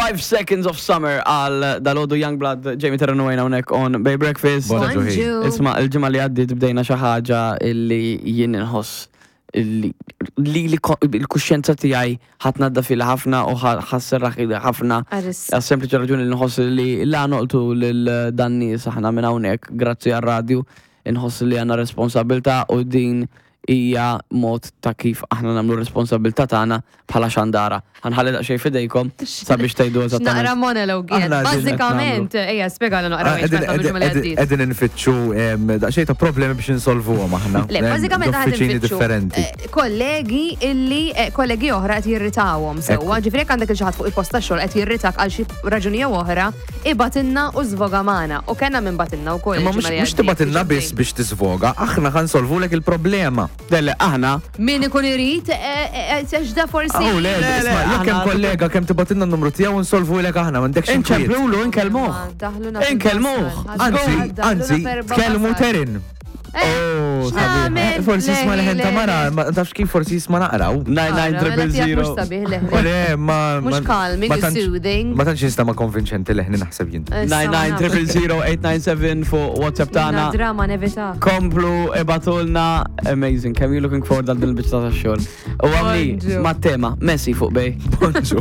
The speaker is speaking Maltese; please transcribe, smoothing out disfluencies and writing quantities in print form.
5 Seconds of Summer għal dalodu Youngblood Jamie Terrano għajna unek on Bay Breakfast. Bonġu. Isma, il-ġimgħa li għaddiet bdejna xi ħaġa illi jien inħoss li li l-kuxjenza tiegħi ħadd nadda fil ħafna u ħasserraħ ħafna. Għas sempliċi raġuni li nħoss li la noqtu lil dan nies aħna minn hawnhekk grazzi għar-radju inħoss li għandna responsabilità u din hija mod ta' kif aħna nagħmlu r-responsabbiltà tagħna bħala xandara. Ħa nħalli daqsxejn f'idejkom sabiex tgħidu eżattament. Naqra monologue jien. Bażikament, ejja spjegalna naqra x'qed nagħmlu. Qegħdin infittxu daqsxejn ta' problemi biex insolvuhom aħna. Le, bażikament aħna qegħdin differenti. Kollegi illi kollegi oħra qed jirritawhom sewwa, ġifieri jekk għandek il xi ħadd fuq il-post tax-xogħol qed jirritak għal xi raġuni jew oħra, Ibgħatilna u żvoga magħna. U kellna min bagħtilna wkoll Imma mhux il-ġimgħa li mhux għaddiet. tibgħatilna biss biex tiżvoga, aħna ħa nsolvulek il-problema. Le, le, aħna. Min ikun irid, għax da forsi. Oh, le, Le, le, isma' jekk hemm aħna- kollega kemm tibgħatilna n-numru tiegħu nsolvulek aħna, m'għandekx inkwiet. Inċemplulu, inkellmuh. Daħluna Inkellmuh. fil-basal. Anzi, Daħluna anzi, f'erba' tkellmu basal. Terin. Oh, sabiħ. X'nagħmel? Forsi jisma' leħen ta' mara, ma tafx kif forsi jisma' naqraw. 99000. Mhux sabiħ leħni. Le, ma. Mhux calming, soothing. Ma tantx jinstama konvinċenti leħni naħseb jien. 99000 fuq WhatsApp tagħna. Drama nevita. Komplu ibatulna amazing. Kemm you looking forward għal din il-biċċa ta' xogħol. U għamli Bonġu. ma' tema Messi fuq bej. Bonġu.